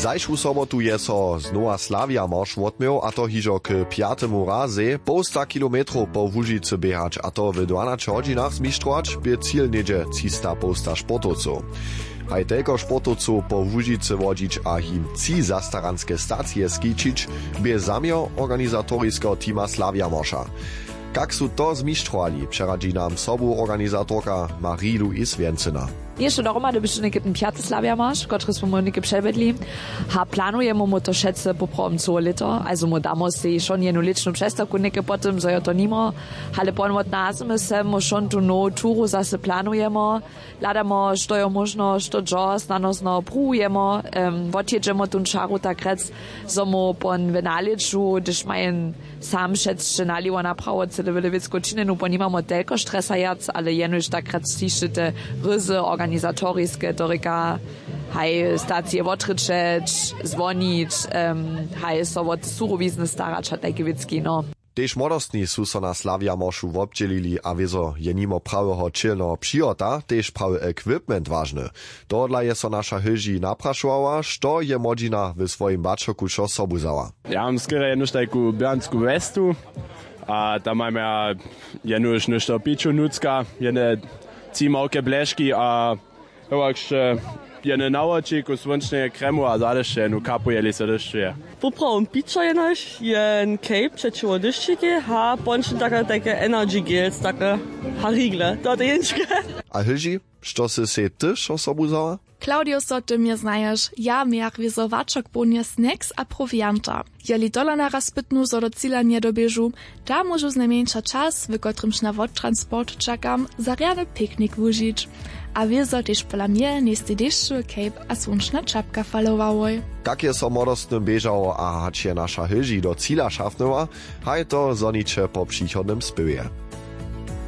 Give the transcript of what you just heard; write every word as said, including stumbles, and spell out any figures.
Zašłu sobotu je so znowa Slavija Marš wotměł, a to hižo k pjatemu razej. Połsta kilometrow po Łužicy běhać, a to w dwanaće hodźinach, zmištrować bě cil něhdźe třista połsta sportowcow. Haj telko sportowcow po Łužicy wodźić a jim tři zastaranske stacije skićić, bě zaměr organizatoriskeho teama Slavija Marša. Kak su to zmištrowali, přeradźi nam sobu organizatorka Marie-Louise Wjencyna. Něšto dohromady běše něke ten pjaty Slavija Marš, kotryž smo něke předwjedli. Ha, planujemy mu to wšetcy poprawom cyłe lěto, also mu damo sej šon jednu lětšnu přestawku něke po tym, zo jo to nimo. Ale pon wot nazmy se mu šon tu nowu turu zase planujemy. Hladamo, što jo móžno, što dźo, snano znowu pruwujemo, em, wotjědźemo tón čaru tak rjec, zo mu pon w nalěću, hdyž majen sam wšetc naliwo naprawo cyle wjele wěcku činjenu, pon nimamo telko stresa wjac, ale jenož tak rjec hišće te ryzy organizatoriske, to rěka, haj stacije wotrěčeć, zwonić, em, haj so wot surowizny starać a tajke wěcki, no. Tež młodostni su so na Slavija Maršu wobdźělili a wězo je nimo praweho ćělneho přihota tež prawy equipment wažny. Tohodla je so naša Hilži naprašowała, što je młodźina w swojim bačoku wšo sobu wzała. Ja mam skerje jenož tajku běrnsku westu a tam mam ja jenož něšto piću nutřka, jedne tři małke bleški a hewak sće jedne nawoči ku słónčneje kremu a zady sće jednu kapu, jeli so dyšćuje. Poprawom pićo jenož, jen cape přećiwo dyšćiki, ha pončin take, take energy gels, take, ha rigle, to te jeničke. A Hilži, što sy sej ty wšo sobu wzała? Claudio, so ty mje znaješ, ja mějach wězo wačok połnje snacks a prowianta. Jeli tola naraz pytnu, zo do cila njedoběžu, da móžu znajmjeńša čas, w kotrymž na wottransport čakam, za rjany piknik wužić. A wězo tež pola mje njejstej dešćowy cape a słónčna čapka falowałoj. Kak je so młodostnym běžało a hač je naša Hilži do cila šafnyła, haj to zhoniće po přichodnym spěwje.